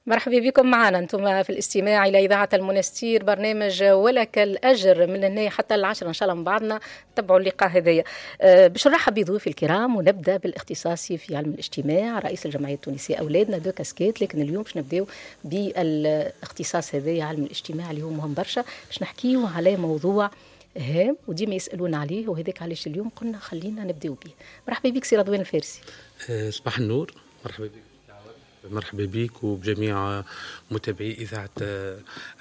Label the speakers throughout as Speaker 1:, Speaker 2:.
Speaker 1: مرحبا بكم معنا انتم في الاستماع الى اذاعة المنستير، برنامج ولك الاجر، من هنا حتى 10 ان شاء الله من بعضنا تبعوا اللقاء هذايا. باش نرحب بضيوفي الكرام ونبدا بالاختصاصي في علم الاجتماع، رئيس الجمعية التونسية اولادنا، deux casquettes، لكن اليوم باش نبداو بالاختصاص هذايا علم الاجتماع اللي هو مهم برشا، باش نحكيو على موضوع هام وديما يسالونا عليه، وهذاك علاش اليوم قلنا خلينا نبداو به. مرحبا بك سي رضوان الفارسي.
Speaker 2: صباح النور، مرحبا بك، مرحبا بك وبجميع متابعي اذاعة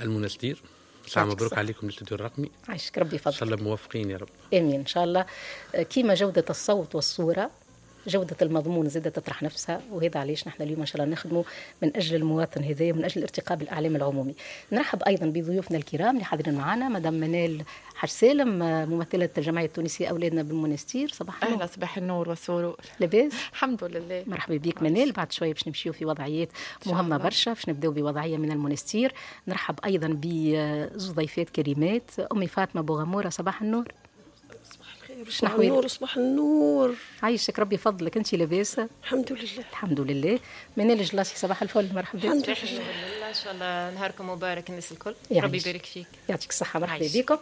Speaker 2: المنستير. ساعة مبروك عليكم الاستوديو الرقمي.
Speaker 1: عايشك، ربي يفضلك.
Speaker 2: ان شاء الله موفقين يا رب.
Speaker 1: امين ان شاء الله. كيما جوده الصوت والصوره، جودة المضمون زادة تطرح نفسها، وهذا علاش نحن اليوم إن شاء الله نخدموا من أجل المواطن هذا ومن أجل الارتقاء بالإعلام العمومي. نرحب أيضا بضيوفنا الكرام اللي حاضرين معنا، مدام منال حاج سالم، ممثلة الجمعية التونسية أولادنا بالمنستير. صباح النور.
Speaker 3: أهلا، صباح النور والسرور.
Speaker 1: لاباس؟
Speaker 3: الحمد لله.
Speaker 1: مرحبا بك منال. بعد شوية باش نمشيو في وضعيات مهمة برشا، باش نبداو بوضعية من المنستير. نرحب أيضا بزوج ضيفات كريمات، أمي فاطمة بوغمورة، صباح النور.
Speaker 4: صباح النور. صباح النور.
Speaker 1: عايشك، ربي يفضلك، انت لاباس؟
Speaker 4: الحمد لله.
Speaker 1: الحمد لله. منال الجلاسي، صباح الفل، مرحبا.
Speaker 4: الحمد لله.
Speaker 5: ان شاء الله نهاركم مبارك الناس الكل، ربي يبارك فيك.
Speaker 1: يعطيك الصحة، مرحبا بكم.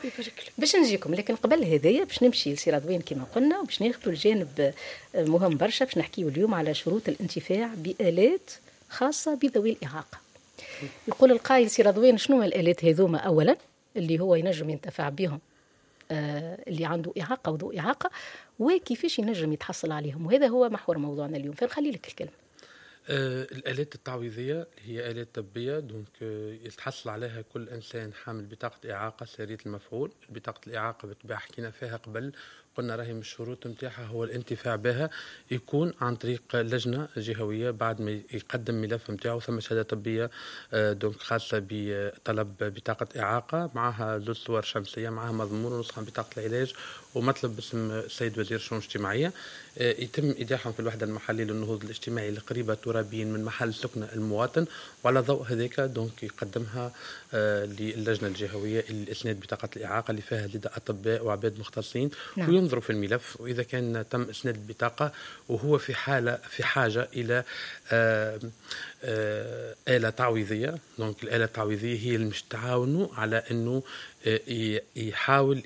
Speaker 1: باش نجيكم، لكن قبل هذايا باش نمشي لسي رضوان كما قلنا، وباش ناخذوا الجانب مهم برشا، باش نحكيو اليوم على شروط الانتفاع بآلات خاصة بذوي الإعاقة. يقول القائل سي رضوان، شنو الآلات هذوما أولا اللي هو ينجم ينتفع بهم اللي عنده إعاقة وذو إعاقة، وكيفاش ينجم يتحصل عليهم؟ وهذا هو محور موضوعنا اليوم، فنخلي لك الكلمة.
Speaker 2: الآلات التعويضية هي آلات طبية، donc يتحصل عليها كل إنسان حامل بطاقة إعاقة سارية المفعول. بطاقة الإعاقة بالطبيعة حكينا فيها قبل، قلنا راهي من الشروط نتاعها هو الانتفاع بها يكون عن طريق لجنة جهوية بعد ما يقدم ملف نتاعو، ثم شهادة طبية donc خاصة بطلب بطاقة إعاقة، معها زوج صور شمسية، معها مضمون ونسخة من بطاقة العلاج ومطلب باسم السيد وزير الشؤون الاجتماعية. يتم إيداعهم في الوحدة المحلية للنهوض الاجتماعي القريبة ترابيا من محل سكن المواطن، وعلى ضوء هذاك donc يقدمها للجنة الجهوية لإسناد بطاقة الإعاقة اللي فيها لدى أطباء وعباد مختصين. وينظروا في الملف، وإذا كان تم إسناد البطاقة وهو في حالة في حاجة إلى آلة تعويضية، donc الآلة التعويضية هي اللي مش تعاونوا على أنه يحاول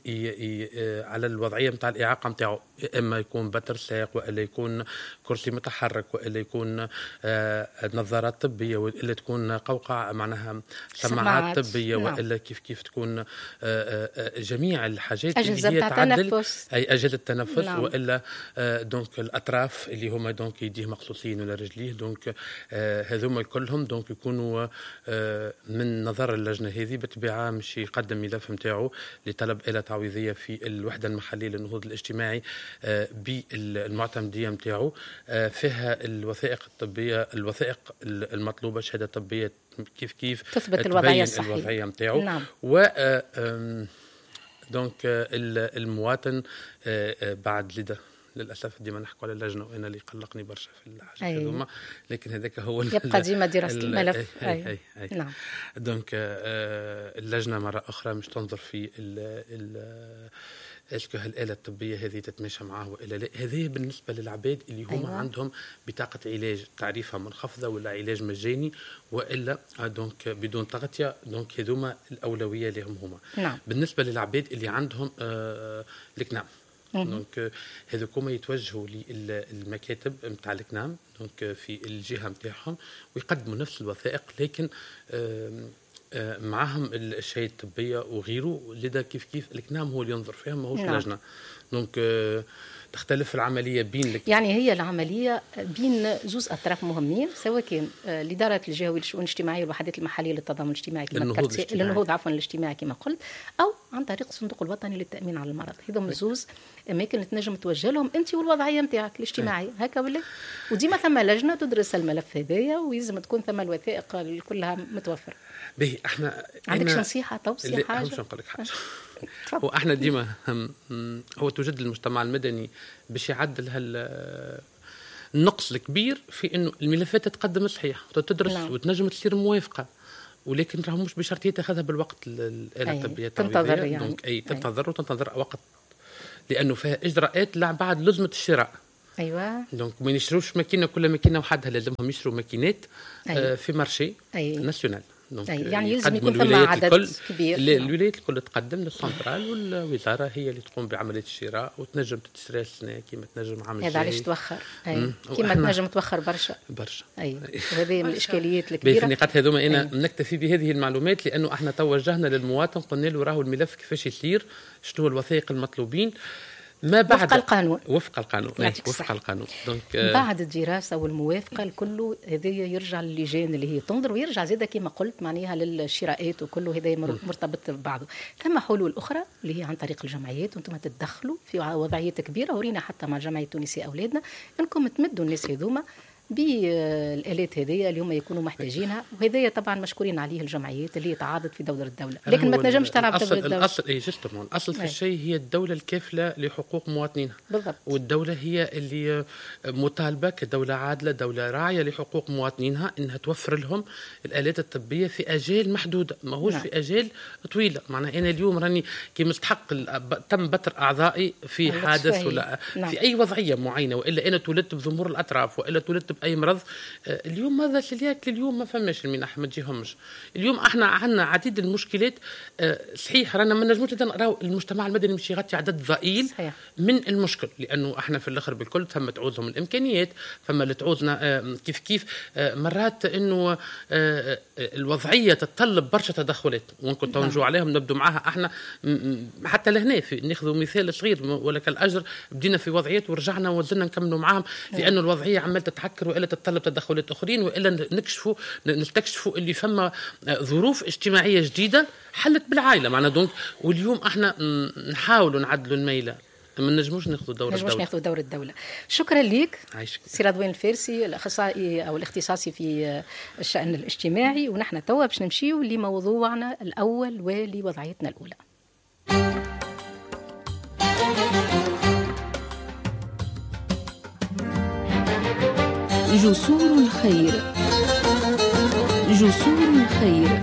Speaker 2: على الوضعية نتاع الإعاقة نتاعو، إما يكون بتر ساق، وإلا يكون كرسي متحرك، وإلا يكون نظارات طبية، وإلا تكون قوقعة معناها سماعات طبية. وإلا كيف كيف تكون جميع الحاجات
Speaker 1: اللي هي تعدل،
Speaker 2: أي أجهزة التنفس. وإلا donc الأطراف اللي هما donc يديه مقصوصين ولا رجليه، donc هذوما كلهم donc يكونوا من نظر اللجنة هذه. بالطبيعة مش يقدم ملف نتاعو لطلب آلة تعويضية في الوحدة المحلية للنهوض الاجتماعي بالمعتمدية نتاعو، فيها الوثائق الطبية، الوثائق المطلوبة، شهادة طبية كيف كيف
Speaker 1: تثبت الوضعية الصحية،
Speaker 2: الوضعية نتاعو. و donc المواطن بعد لدى للاسف ديما نحكوا على اللجنة وانا اللي يقلقني برشا في الحاجات هذوما، لكن هذاك هو
Speaker 1: يبقى ديما دراسة الملف.
Speaker 2: أي. نعم. donc اللجنة مرة اخرى مش تنظر في ال est-ce que هالآلة الطبية هذه تتماشى معاه وإلا لا. هذه بالنسبة للعباد اللي هما عندهم بطاقة علاج تعريفها منخفضة ولا علاج مجاني وإلا donc بدون تغطية، donc هذوما الأولوية لهم هما. بالنسبة للعباد اللي عندهم الكنام، donc هذوكما يتوجهوا للمكاتب نتاع الكنام donc في الجهة نتاعهم ويقدموا نفس الوثائق، لكن معهم الشهادة الطبية وغيره. لذا كيف كيف الكنام هو اللي ينظر فيها، ماهوش لجنه. donc تختلف العملية بين لك.
Speaker 1: يعني هي العملية بين زوز اطراف مهمين، سواء كان الادارات الجهوية للشؤون الاجتماعية والوحدات المحلية للتضامن الاجتماعي كما للنهوض عفوا الاجتماعي كما قلت، او عن طريق الصندوق الوطني للتامين على المرض. هذوما زوز اماكن اللي تنجم توجه لهم انت والوضعيه نتاعك الاجتماعية هكا ولا، وديما ثم لجنة تدرس الملف هذايا ويلزم تكون ثم الوثائق كلها متوفرة.
Speaker 2: باهي، احنا
Speaker 1: عندك نصيحه، توصية، حاجة؟
Speaker 2: باش نقول لك حاجه، هو احنا ديما هو توجد المجتمع المدني باش يعدل هال النقص الكبير في انه الملفات تتقدم صحيح وتدرس وتنجم تصير موافقه، ولكن راهو مش بشرط هي تاخذها بالوقت الاله الطبية.
Speaker 1: تنتظر يعني.
Speaker 2: donc اي تنتظر وتنتظر وقت، لانه فيها اجراءات لا بعد لزمه الشراء.
Speaker 1: ايوه.
Speaker 2: donc ما يشروش ماكينة، كل ماكينة وحدها، لازمهم يشروا ماكينات. أيوة. في marché national.
Speaker 1: donc يعني يلزم يكون ثم عدد كبير.
Speaker 2: الولايات الكل تقدم للسنترال، والوزارة هي اللي تقوم بعملية الشراء، وتنجم تشتري السنة كيما تنجم عام
Speaker 1: الجاي. هذا علاش توخر. كيما تنجم توخر برشا
Speaker 2: برشا.
Speaker 1: اي، وهذه من الاشكاليات الكبيرة
Speaker 2: في النقاط هذوما. انا نكتفي بهذه المعلومات لانه احنا توجهنا للمواطن، قلنا له راهو الملف كيفاش يصير، شنو الوثائق المطلوبين، ما بعد
Speaker 1: وفق القانون.
Speaker 2: وفق القانون، وفق القانون.
Speaker 1: donc بعد الدراسة والموافقة الكل هذا يرجع للجان اللي هي تنظر، ويرجع زاده كما قلت معناها للشراءات وكله هذا مرتبط ببعضه. ثم حلول اخرى اللي هي عن طريق الجمعيات، وانتم تتدخلوا في وضعيات كبيرة، ورينا حتى مع الجمعية التونسية اولادنا انكم تمدوا الناس هذوما بالالات هذيا اللي هما يكونوا محتاجينها، وهذايا طبعا مشكورين عليه الجمعيات اللي تعاضد في دور الدولة، لكن ما تنجمش تلعب
Speaker 2: دور الدولة. الاصل اي justement الاصل في الشيء هي الدولة الكافله لحقوق مواطنينها.
Speaker 1: بالضبط.
Speaker 2: والدولة هي اللي مطالبه كدولة عادلة، دولة راعيه لحقوق مواطنينها، انها توفر لهم الالات الطبية في اجال محدودة، ماهوش في اجال طويلة. معناها انا اليوم راني كي مستحق تم بتر اعضائي في حادث ولا في اي وضعية معينة، والا انا تولدت بضمور الاطراف، والا تولدت باي مرض. اليوم هذا سيلياك اليوم ما فماش المنح، ما تجيهمش. اليوم احنا عندنا عديد المشكلات. صحيح رانا ما نجموش نراو المجتمع المدني مش يغطي عدد ضئيل صحيح من المشكل، لانه احنا في الاخر بالكل ثم تعوزهم الامكانيات، ثم اللي تعوزنا كيف كيف مرات انه الوضعية تتطلب برشا تدخلات، وممكن نجوا عليهم نبدو معاها احنا حتى لهنا. ناخذ مثال صغير ولك الاجر، بدينا في وضعيات ورجعنا وزلنا نكملوا معاهم، لانه الوضعية عمال تتحكر والا تتطلب تدخلات اخرين، والا نستكشفوا اللي فما ظروف اجتماعية جديدة حلت بالعائلة معنا. donc واليوم احنا نحاولوا نعدلوا الميلة، ما نجموش ناخذوا دور الدولة.
Speaker 1: ناخذوا دور الدولة. شكرا لك سي رضوان الفارسي، الاخصائي او الاختصاصي في الشان الاجتماعي. ونحن توا باش نمشيو لموضوعنا الاول ولوضعيتنا الاولى.
Speaker 6: جسور الخير. جسور الخير.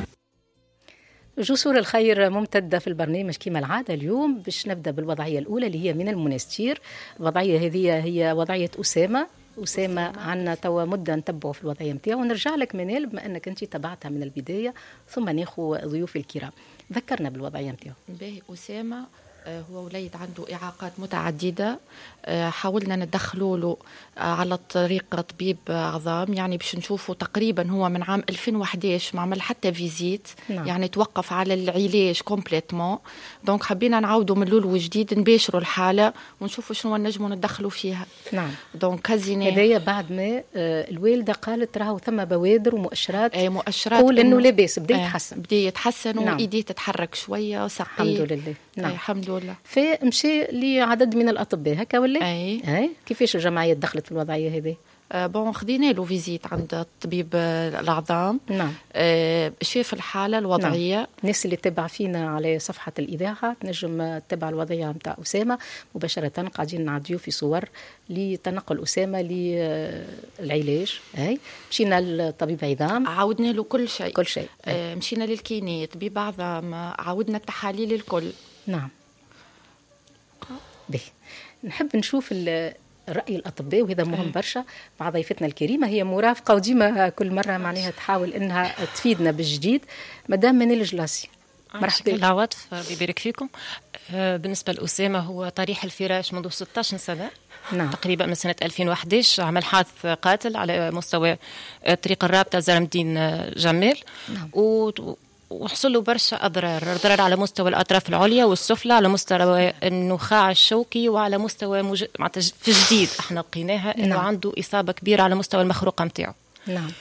Speaker 1: جسور الخير ممتدة في البرنامج كما العادة. اليوم باش نبدأ بالوضعية الأولى اللي هي من المنستير. الوضعية هذه هي وضعية أسامة. أسامة عنا توا مدة نتبعه في الوضعية متاعه، ونرجع لك منال بما أنك أنت تبعتها من البداية، ثم ناخو ضيوف الكرام. ذكرنا بالوضعية متاعه.
Speaker 3: باهي، أسامة هو وليد عنده إعاقات متعددة، حاولنا ندخلوا له على طريق طبيب عظام، يعني باش نشوفه تقريبا هو من عام 2011 ما عمل حتى visite. نعم. يعني توقف على العلاج complètement، donc حبينا نعاودوا من الاول وجديد، نباشروا الحالة ونشوفوا شنو نجموا ندخلوا فيها.
Speaker 1: نعم.
Speaker 3: donc هزينا
Speaker 1: هذايا بعد ما الوالدة قالت راهو ثم بوادر ومؤشرات،
Speaker 3: اي مؤشرات
Speaker 1: قول انه لاباس، بدا يتحسن،
Speaker 3: بدا يتحسن.
Speaker 1: نعم.
Speaker 3: وايديه تتحرك شوية وساقيه،
Speaker 1: الحمد لله. نعم.
Speaker 3: الحمد لله.
Speaker 1: فمشي لعدد من الأطباء هكا ولا؟
Speaker 3: أي.
Speaker 1: كيفاش الجمعية دخلت في الوضعية هذه؟
Speaker 3: bon خدينا له visite عند طبيب العظام.
Speaker 1: نعم.
Speaker 3: شاف الحالة الوضعية.
Speaker 1: نعم. الناس اللي تتبع فينا على صفحة الإذاعة تنجم تتبع الوضعية نتاع أسامة مباشرة، قاعدين نعديو في صور لتنقل أسامة للعلاج. هاي مشينا للطبيب عظام،
Speaker 3: عاودنا له كل شيء،
Speaker 1: كل شيء.
Speaker 3: مشينا لل kiné، طبيب عظام، عاودنا التحاليل الكل.
Speaker 1: نعم. به نحب نشوف رأي الأطباء، وهذا مهم برشا مع ضيفتنا الكريمة، هي مرافقة وديما كل مرة معناها تحاول إنها تفيدنا بالجديد. مدام منال الجلاسي،
Speaker 5: مرحبا. العواطف، ربي يبارك فيكم. بالنسبة لأسامة هو طريح الفراش منذ 16 سنة.
Speaker 1: نعم.
Speaker 5: تقريبا من سنة 2011 عمل حادث قاتل على مستوى طريق الرابطة زرمدين جمال.
Speaker 1: نعم.
Speaker 5: وحصل له برشا أضرار على مستوى الأطراف العليا والسفلى، على مستوى النخاع الشوكي، وعلى مستوى في جديد احنا لقيناها انه
Speaker 1: نعم.
Speaker 5: عنده إصابة كبيرة على مستوى المخروقة متاعه.
Speaker 1: نعم.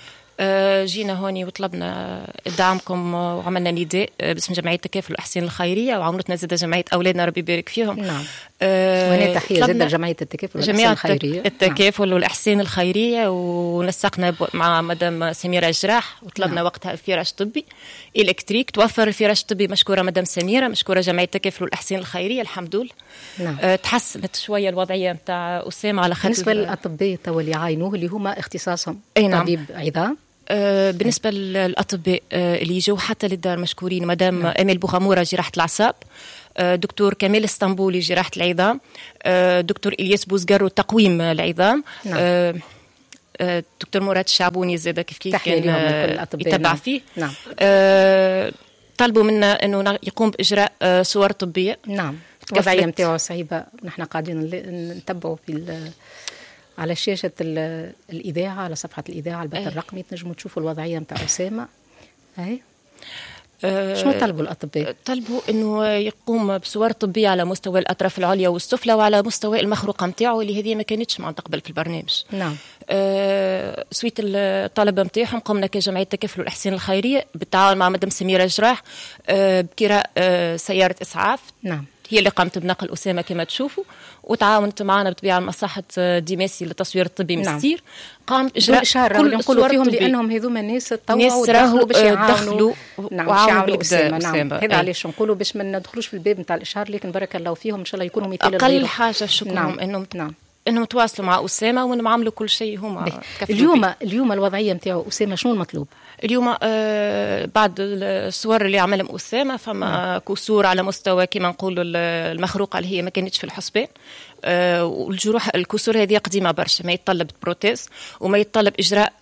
Speaker 5: جينا هوني وطلبنا دعمكم وعملنا نداء باسم جمعية التكافل والإحسان الخيرية، وعاونتنا زادة جمعية أولادنا ربي يبارك فيهم.
Speaker 1: نعم. وهنا تحية زادة لجمعية التكافل والإحسان الخيرية.
Speaker 5: التكافل نعم. والإحسان الخيرية، ونسقنا مع مدام سميرة جراح وطلبنا
Speaker 1: نعم.
Speaker 5: وقتها فراش طبي électrique. توفر الفراش الطبي، مشكورة مدام سميرة، مشكورة جمعية التكافل والإحسان الخيرية، الحمد لله.
Speaker 1: نعم.
Speaker 5: تحسنت شوية الوضعية نتاع أسامة على خاطر.
Speaker 1: بالنسبة للأطباء توا اللي عاينوه اللي هما اختصاصهم
Speaker 5: نعم.
Speaker 1: طبيب عظام.
Speaker 5: بالنسبة للأطباء اللي يجوا حتى للدار مشكورين، مدام
Speaker 1: نعم.
Speaker 5: أمال بوغامورة جراحة الأعصاب، دكتور كمال اسطنبولي جراحه العظام، دكتور الياس بوزقرو تقويم العظام. نعم. دكتور مراد الشعبوني زاد كيف كيف كان يتبع. نعم. فيه. نعم. طلبوا منا انه يقوم باجراء صور طبية.
Speaker 1: نعم. الوضعية نتاعو صعيبة، نحن قاعدين نتبعوا في على شاشة الاذاعة، على صفحة الاذاعة البث الرقمي، تنجموا تشوفوا الوضعية نتاع اسامة. اي شنو طلبوا الأطباء؟
Speaker 5: طلبوا أنه يقوم بصور طبية على مستوى الأطراف العليا والسفلى وعلى مستوى المخروقة نتاعو اللي هذه ما كانتش مع قبل في البرنامج.
Speaker 1: نعم.
Speaker 5: suite الطلبة نتاعهم قمنا كجمعية تكافل والإحسان الخيرية بالتعاون مع مدام سميرة جراح بكراء سيارة إسعاف.
Speaker 1: نعم.
Speaker 5: هي اللي قامت بنقل أسامة كما تشوفوا، وتعاونت معنا بطبيعة مصحة ديماسي للتصوير الطبي مستير. قامت إجراء
Speaker 1: كل نقولوا فيهم لأنهم هذوما ناس تطوعوا ودخلوا باش يعاونوا. نعم، باش يعاونوا أسامة. نعم. هذا علاش نقولوا باش ما ندخلوش في الباب نتاع الإشهار، لكن بارك الله فيهم إن شاء الله يكونوا مثال
Speaker 5: لغيرهم. أقل حاجة شكرهم. نعم. إنهم. نعم. إنهم تواصلوا مع أسامة وإنهم عملوا كل شيء هما.
Speaker 1: اليوم الوضعية نتاعو أسامة شنو المطلوب؟
Speaker 5: اليوم بعد الصور اللي عملهم أسامة فما كسور على مستوى كما نقولوا المخروقة اللي هي ما كانتش في الحسبان، والجروح الكسور هذه قديمة برشا، ما يتطلب prothèse وما يتطلب إجراء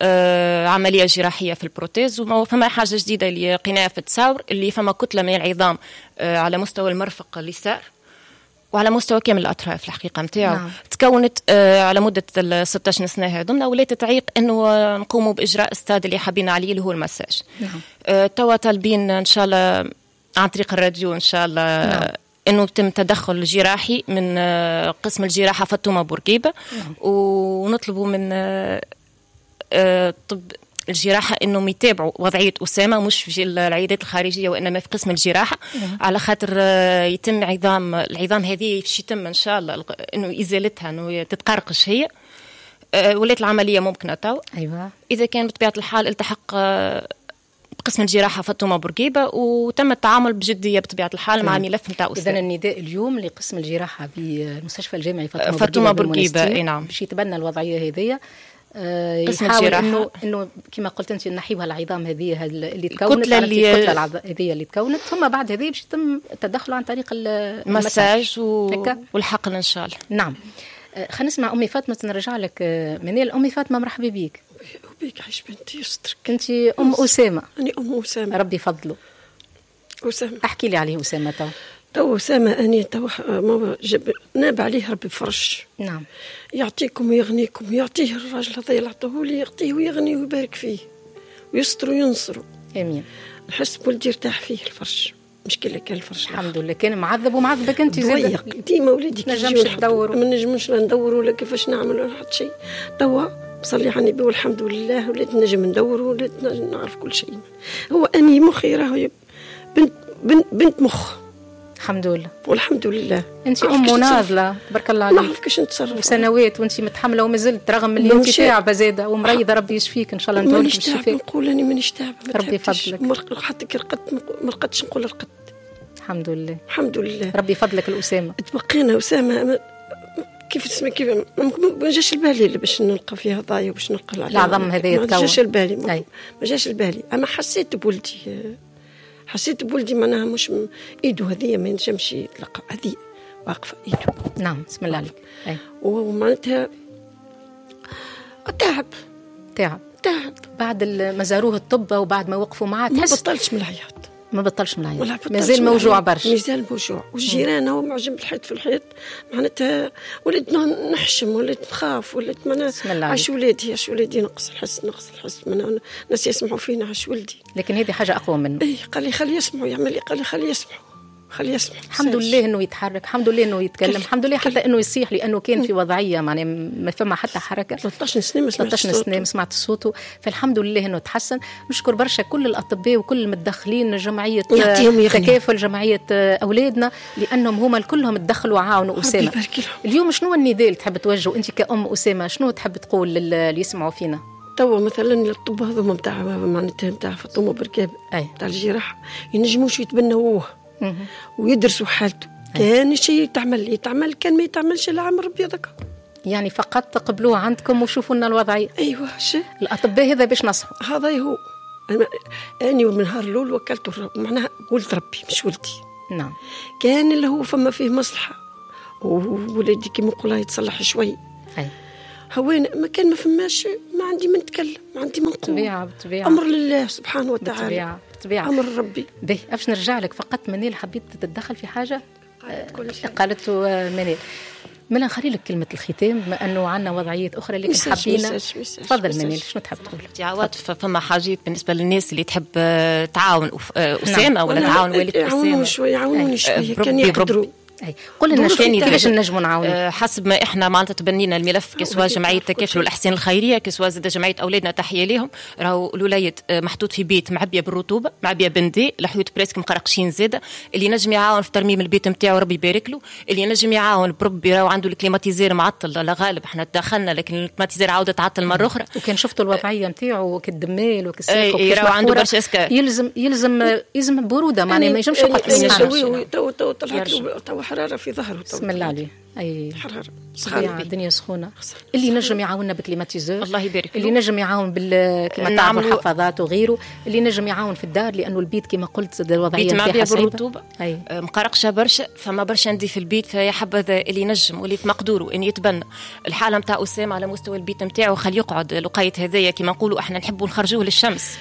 Speaker 5: عملية جراحية في ال prothèse. وفما حاجة جديدة اللي لقيناها في التصاور اللي فما كتلة من العظام على مستوى المرفق اليسار وعلى مستوى كامل الأطراف الحقيقة نتاعو. نعم. تكونت على مدة 16 سنة هذوما ولات تعيق أنه نقوموا بإجراء استاد اللي حابين عليه اللي هو المساج.
Speaker 1: نعم.
Speaker 5: توا طالبين إن شاء الله عن طريق الراديو إن شاء الله. نعم. أنه يتم تدخل جراحي من قسم الجراحة فاطمة بورقيبة. نعم. ونطلبوا من طب الجراحة أنهم يتابعوا وضعية أسامة مش في العيادات الخارجية وإنما في قسم الجراحة. على خاطر يتم العظام هذه باش يتم إن شاء الله أنه إزالتها، أنه تتقرقش هي. ولات العملية ممكنة تو.
Speaker 1: أيوة.
Speaker 5: إذا كان بطبيعة الحال التحق بقسم الجراحة فاطمة بورقيبة وتم التعامل بجدية بطبيعة الحال مع ملف نتاع أسامة.
Speaker 1: إذن النداء اليوم لقسم الجراحة بالمستشفى الجامعي فاطمة بورقيبة.
Speaker 5: أي نعم.
Speaker 1: باش يتبنى الوضعية هذه، يحاول انه كما قلت انت نحيوها العظام هذه اللي تكونت، الكتلة هذه اللي تكونت، ثم بعد هذه باش يتم التدخل عن طريق
Speaker 5: المساج والحقن ان شاء الله.
Speaker 1: نعم. خلينا نسمع امي فاطمة، نرجع لك منال. امي فاطمة مرحبا بك.
Speaker 4: وبيك عايش بنتي يسترك.
Speaker 1: انت ام اسامة.
Speaker 4: انا ام اسامة،
Speaker 1: ربي يفضله.
Speaker 4: اسامة
Speaker 1: احكي لي عليه اسامة
Speaker 4: تو أسامة أني تو ناب عليه ربي فرش.
Speaker 1: نعم.
Speaker 4: يعطيكم ويغنيكم، يعطيه الراجل هذا اللي عطاه لي، يعطيه ويغنيه ويبارك فيه ويستر وينصره.
Speaker 1: آمين.
Speaker 4: نحس بولدي ارتاح فيه الفرش، مش كي كان الفرش.
Speaker 1: الحمد لله كان معذب ومعذبك أنت
Speaker 4: زاد. ديما وليدي
Speaker 1: ما نجمش تدور،
Speaker 4: ما نجمش لا ندور ولا كيفاش نعمل ولا حتى شيء. توا صلي على النبي والحمد لله وليت نجم ندور وليت نعرف كل شيء. هو أني مخي راهو بنت بنت بنت مخ.
Speaker 1: الحمد لله
Speaker 4: والحمد لله.
Speaker 1: انت ام مناضله تبارك الله عليك.
Speaker 4: نعرف كيفاش نتصرف
Speaker 1: وسنوات وانت متحملة ومازلت رغم اللي انت تعبه زاده ومريضه، ربي يشفيك ان شاء الله.
Speaker 4: مانيش تعبه، نقول اني مانيش تعبه،
Speaker 1: ربي يفضلك.
Speaker 4: حتى كي رقدت ما رقدتش نقول رقدت.
Speaker 1: الحمد لله
Speaker 4: الحمد لله،
Speaker 1: ربي يفضلك الاسامه.
Speaker 4: تبقينا اسامة كيف تسمى كيف ما جاش البالي اللي باش نلقى فيها ضايع وباش نلقى
Speaker 1: العظم هذا
Speaker 4: ما جاش البالي، ما جاش البالي. اما حسيت بولدي، حسيت بولدي معناها مش ايده هذه ما ينجمش يتلقى، هذه واقفة ايده.
Speaker 1: نعم بسم الله عليك.
Speaker 4: ومعناتها تعب تعب تعب
Speaker 1: بعد ما زاروه الطب وبعد ما وقفوا معاه.
Speaker 4: ما بطلش من العياط،
Speaker 1: ما بطلش من العياط، مازال موجوع برشا،
Speaker 4: مازال موجوع. والجيران هو معجب الحيط في الحيط، معناتها وليت نحشم، وليت نخاف، وليت معناها عاش ولادي، عاش ولادي، نقص الحس، نقص الحس، معناها الناس يسمعوا فينا عاش ولدي.
Speaker 1: لكن هذه حاجة اقوى منه.
Speaker 4: اي قال لي خلي يسمعوا، يعمل لي قال لي خلي يسمعوا، خلي يسمع.
Speaker 1: الحمد لله انه يتحرك، الحمد لله انه يتكلم، الحمد لله حتى انه يصيح، لانه كان في وضعية معناها ما فما حتى حركة.
Speaker 4: 13 سنة ما سمعت
Speaker 1: 13 سنة ما سمعت صوته، فالحمد لله انه تحسن. نشكر برشا كل الاطباء وكل المتدخلين، جمعية تكافل، جمعية اولادنا، لانهم هما كلهم تدخلوا وعاونوا اسامة. اليوم شنو النداء اللي تحب توجهه انت كأم اسامة؟ شنو تحب تقول للي يسمعوا فينا؟
Speaker 4: توا مثلا الطب هذوما نتاع معناتها نتاع فاطمة بركاب نتاع الجراحة ينجموش يتبنوه ويدرسوا حالته. كان شيء يتعمل يتعمل، كان ما يتعملش العمر ربي هذاك.
Speaker 1: يعني فقط تقبلوه عندكم وشوفوا لنا الوضعية.
Speaker 4: ايوه شيء
Speaker 1: الاطباء هذا باش نصحوا.
Speaker 4: هذا هو. اني من نهار الاول وكلته معناها ولد ربي مش ولدي.
Speaker 1: نعم.
Speaker 4: كان اللي هو فما فيه مصلحة وولادي كيما نقولها يتصلح شوي.
Speaker 1: أي.
Speaker 4: هوين ما كان ما فماش، ما عندي ما نتكلم، ما عندي ما نقول.
Speaker 1: بالطبيعة.
Speaker 4: أمر لله سبحانه وتعالى.
Speaker 1: بالطبيعة.
Speaker 4: أمر ربي.
Speaker 1: باهي، باش نرجع لك فقط منال، حبيت تتدخل في حاجة؟ قالت منال. ملا نخلي لك كلمة الختام بما أنه عندنا وضعيات أخرى اللي حابين. تفضل منال، شنو تحب تقول؟
Speaker 5: عواطف، فما حاجات بالنسبة للناس اللي تحب تعاون أسامة ولا تعاون والد أسامة.
Speaker 4: يعاونوني شوية كان يقدروا.
Speaker 1: أي. قول لنا كيفاش نجموا نعاونوا؟
Speaker 5: حسب ما احنا معناتها تبنينا الملف، que ce soit جمعية تكافل والاحسان الخيرية، que ce soit زاد جمعية اولادنا تحية ليهم، راهو الوليد محطوط في بيت معبيه بالرطوبه، معبيه بندي، الحيوط presque مقرقشين زاده. اللي نجم يعاون في ترميم البيت نتاعو ربي يبارك له، اللي نجم يعاون بربي راهو عنده ال climatiseur معطل، لا غالب احنا تدخلنا لكن ال climatiseur عاود تعطل مرة اخرى.
Speaker 1: وكان شفتوا الوضعية نتاعو كالدمال وكالساق،
Speaker 5: راهو عنده برشا اسكار،
Speaker 1: يلزم يلزم يلزم برودة، معناها ما ينجمش يقعد في
Speaker 4: السخانه. تو طلعت تو حرارة في ظهره.
Speaker 1: بسم الله عليه. اي
Speaker 4: حرارة
Speaker 1: سخانه، الدنيا سخونة. اللي نجم يعاوننا ب climatiseur
Speaker 5: الله يبارك،
Speaker 1: اللي نجم يعاون كما تعرفوا الحفاضات وغيره، اللي نجم يعاون في الدار، لانه البيت كما قلت الوضعية
Speaker 5: نتاعها بالرطوبه مقرقشه برشا، فما برشا عندي في البيت، فيا حبذا اللي نجم واللي في مقدوره ان يتبنى الحالة نتاع اسامة على مستوى البيت نتاعو، خليه يقعد لقيت هذايا كما نقولوا احنا نحبوا نخرجوه للشمس.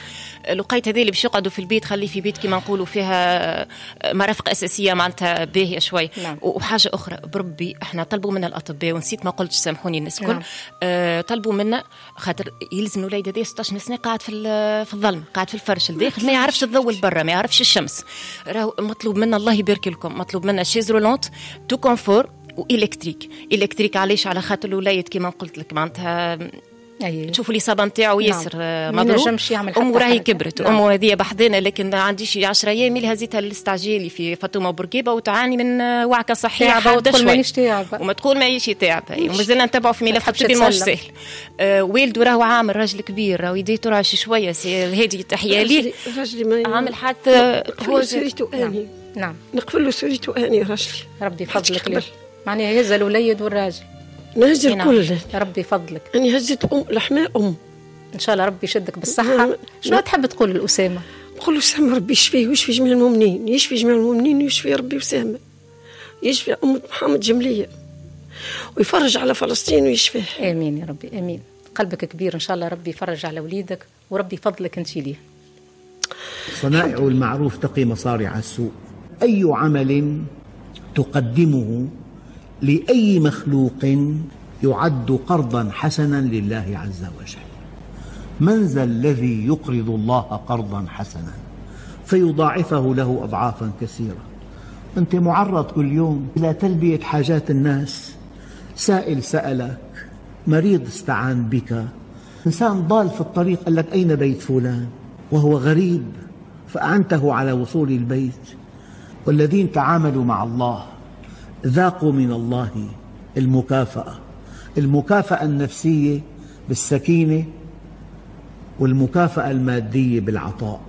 Speaker 5: لقيت هذه اللي باش يقعدوا في البيت خليه في بيت كما نقولوا فيها مرافق اساسية معناتها باهيه شوي. نعم. وحاجه اخرى بربي احنا طلبوا منا الاطباء، ونسيت ما قلتش سامحوني الناس الكل. نعم. طلبوا منا خاطر يلزم الوليد هذا 16 سنة قاعد في الظلم، قاعد في الفرش الداخل، ما يعرفش الضوء البرا، ما يعرفش الشمس. راهو مطلوب منا الله يبارك لكم، مطلوب منا chaise roulante tout confort و électrique. électrique علاش؟ على خاطر الوليد كما قلت لك معناتها تشوفوا الاصابة نتاعو ياسر مضروب، امه راهي كبرت. نعم. امه هذه بحذانا، لكن عنديش 10 ايام اللي هزيتها للاستعجالي في فاطمة بورقيبة، وتعاني من وعكه صحية
Speaker 1: حادة شوي،
Speaker 5: وما تقول ماهيش تعبه، ومازلنا نتبعوا في ملف الطبي ماهوش ساهل. والده راهو عامل راجل كبير، راهو يديه ترعش شوية، سي الهادي تحية ليه، عامل حادث
Speaker 4: هو سوريتو اني.
Speaker 1: نعم.
Speaker 4: نقفل له سوريتو اني راجلي،
Speaker 1: ربي يفضلك ليه، معناها هز الوليد والراجل
Speaker 4: نهز الكل.
Speaker 1: ربي يفضلك.
Speaker 4: أنا هزيت أم لحماء أم.
Speaker 1: إن شاء الله ربي يشدك بالصحة. شنو تحب تقول لأسامة؟
Speaker 4: نقول أسامة ربي يشفيه ويشفي جميع المؤمنين، يشفي جميع المؤمنين ويشفي ربي أسامة، يشفي أمة محمد جملية، ويفرج على فلسطين ويشفيه.
Speaker 1: آمين يا ربي، آمين. قلبك كبير، إن شاء الله ربي يفرج على وليدك وربي يفضلك أنت ليه.
Speaker 7: صنائع المعروف تقي مصارع السوء. أي عمل تقدمه لأي مخلوق يعد قرضا حسنا لله عز وجل. من ذا الذي يقرض الله قرضا حسنا فيضاعفه له أضعافا كثيرة؟ أنت معرض كل يوم إلى تلبية حاجات الناس، سائل سألك، مريض استعان بك، إنسان ضال في الطريق قال لك أين بيت فلان وهو غريب فأعنته على وصول البيت. والذين تعاملوا مع الله ذاقوا من الله المكافأة، المكافأة النفسية بالسكينة، والمكافأة المادية بالعطاء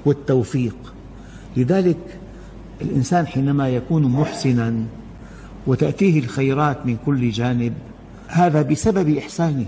Speaker 7: والتوفيق. لذلك الإنسان حينما يكون محسنا وتأتيه الخيرات من كل جانب هذا بسبب إحسانه.